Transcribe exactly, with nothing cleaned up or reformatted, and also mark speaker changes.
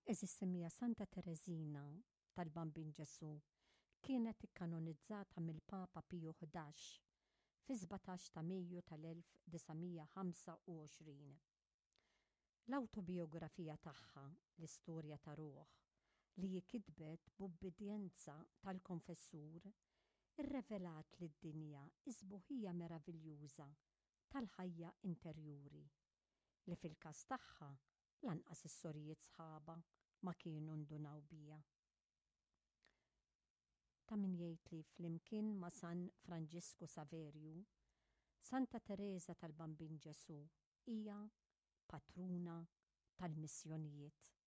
Speaker 1: Għeżież semmiegħa, Santa Tereżina tal-Bambin Ġesù kienet ikkanonizzata mill-Papa Piju Ħdax fi sbatax ta' Mejju tal-elf disa' mija ħamsa u għoxrin. L-awtobiografija tagħha, L-Istorja ta' Ruħ, li kitbet b'ubbidjenza tal-konfessur, irrevelat lid-dinja is-sbuħija meraviljuża tal-ħajja interjuri li fil-każ tagħha lanqas is-sorijiet sħaba ma kienu ndunaw biha. Ta' min jgħid li flimkien ma' San Franġisku Saverju, Santa Teresa tal-Bambin Ġesù hija patruna tal-missjonijiet.